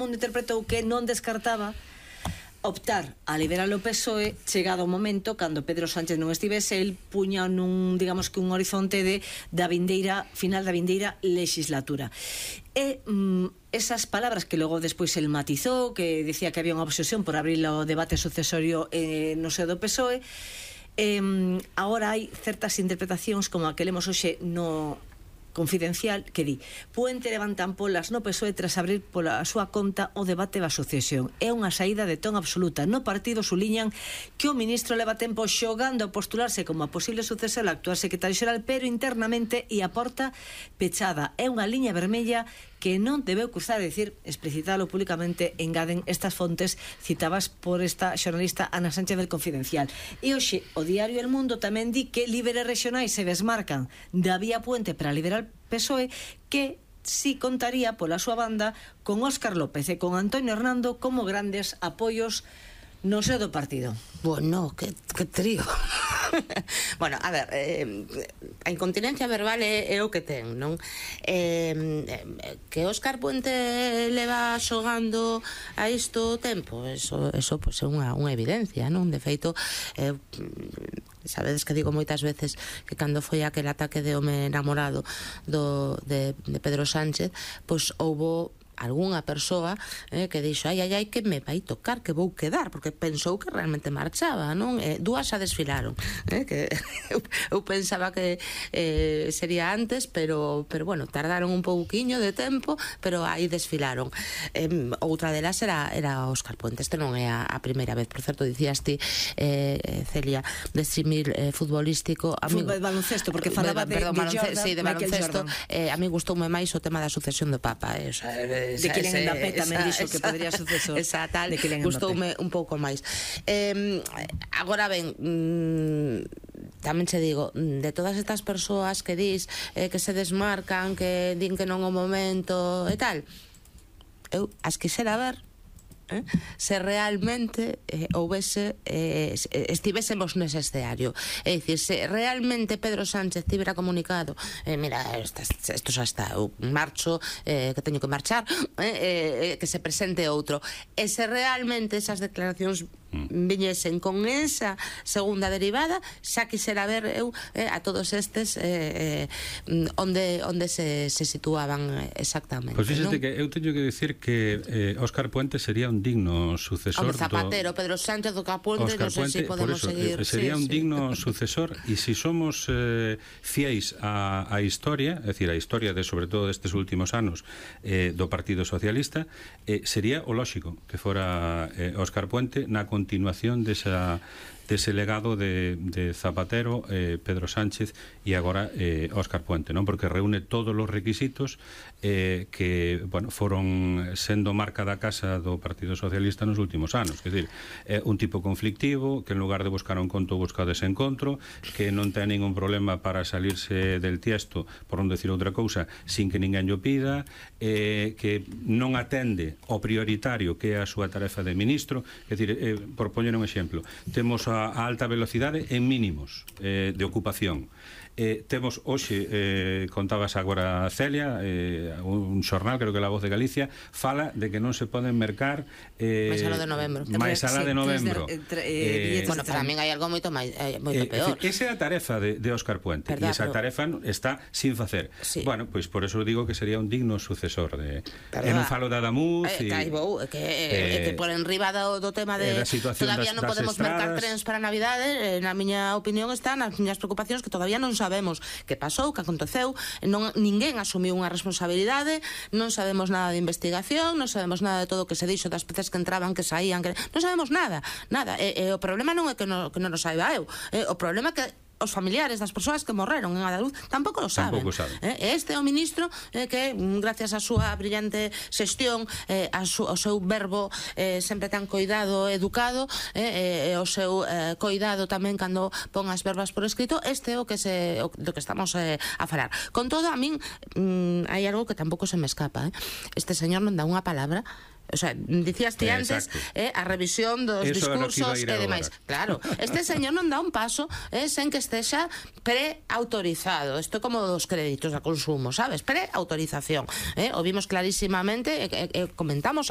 mundo interpretou que non descartaba optar a liberar o PSOE chegado o momento cando Pedro Sánchez non estivese, el puña nun, digamos que un horizonte da vindeira final da vindeira legislatura. E esas palabras que logo despois el matizou, que dicía que había unha obsesión por abrir o debate sucesorio no seo do PSOE, agora hai certas interpretacións como a que lemos hoxe no Confidencial, que di: Puente levantan polas no PSOE tras abrir pola súa conta o debate da sucesión. É unha saída de ton absoluta. No partido suliñan que o ministro leva tempo xogando a postularse como a posible sucesor ao actual secretario xeral, pero internamente e a porta pechada. É unha liña vermella que non debeu cruzar, é dicir, explicitalo públicamente, engaden estas fontes citadas por esta xornalista Ana Sánchez del Confidencial. E hoxe o diario El Mundo tamén di que líderes regionais se desmarcan da vía Puente para liberar PSOE, que si contaría pola súa banda con Óscar López e con Antonio Hernando como grandes apoios no seo do partido. Bueno, que trío. Bueno, a ver, a incontinencia verbal é o que ten, non? Que Óscar Puente leva xogando a isto tempo, eso pois é unha evidencia, non? De feito, sabedes que digo moitas veces que cando foi aquel ataque de home enamorado de Pedro Sánchez, pois houbo algunha persoa que dixo ai, que me vai tocar, que vou quedar, porque pensou que realmente marchaba, non? Dúas xa desfilaron, que eu pensaba que sería antes, pero bueno, tardaron un pouquiño de tempo, pero aí desfilaron. Outra delas era Óscar Puente. Este non é a primeira vez. Por certo, dicías ti, Celia, de símil futbolístico, baloncesto, porque falaba de Jordan, sí, de baloncesto. A mí gustoume máis o tema da sucesión do Papa, de Kylian Mbappé tamén dixo que podría sucesor de Kylian Mbappé. Gustoume un pouco máis. Agora ben, tamén che digo, de todas estas persoas que dis que se desmarcan, que din que non o momento e tal, eu as quixera ver se realmente estivésemos nese escenario. É dicir, se realmente Pedro Sánchez tivera comunicado mira, isto xa está, eu marcho, que teño que marchar, que se presente outro, e se realmente esas declaracións viñesen con esa segunda derivada, xa quixera ver eu a todos estes onde se situaban exactamente. Pois fíxate que eu teño que decir que Óscar Puente sería un digno sucesor do Zapatero, Pedro Sánchez do Capuente, non sei se podemos seguir. Sería un digno sucesor, e se somos fieis á historia, é dicir, a historia de sobre todo destes últimos anos do Partido Socialista, sería o lóxico que fora Óscar Puente na continuación dese legado de Zapatero, Pedro Sánchez e agora Óscar Puente, non? Porque reúne todos os requisitos que, bueno, foron sendo marca da casa do Partido Socialista nos últimos anos. Quer dizer, un tipo conflictivo, que en lugar de buscar un encontro busca desencontro, que non ten ningún problema para salirse del tiesto, por non decir outra cousa, sin que ninguén llo pida, que non atende ao prioritario que é a súa tarefa de ministro. Quer dizer, por poñer un exemplo, temos a alta velocidade en mínimos de ocupación. Temos hoxe, contabas agora Celia, un xornal, creo que La Voz de Galicia, fala de que non se poden mercar máis alá de novembro. Bueno, pero tamén hai algo moito peor. Esa é a tarefa de Óscar Puente, e esa tarefa está sin facer. Bueno, pois por eso digo que sería un digno sucesor de... non falo de Adamuz que por enriba do tema de todavía non podemos mercar trens para Navidade. Na miña opinión está nas miñas preocupacións, que todavía non sabemos que pasou, que aconteceu, ninguén asumiu unha responsabilidade, non sabemos nada de investigación, non sabemos nada de todo o que se dixo das peces que entraban, que saían, non sabemos nada. E o problema non é que non o saiba eu, o problema é que os familiares das persoas que morreron en Adaluz tampouco lo saben. Este é o ministro que, gracias á súa brillante xestión, ao seu verbo sempre tan coidado, educado, o seu coidado tamén cando pon as verbas por escrito, este é o que estamos a falar. Con todo, a min hai algo que tampouco se me escapa. Este señor non dá unha palabra. O sea, dicías ti antes a revisión dos discursos e demais. Claro, este señor non dá un paso sen que estexa preautorizado. Isto é como dos créditos a consumo, sabes? Preautorización. O vimos clarísimamente, comentamos a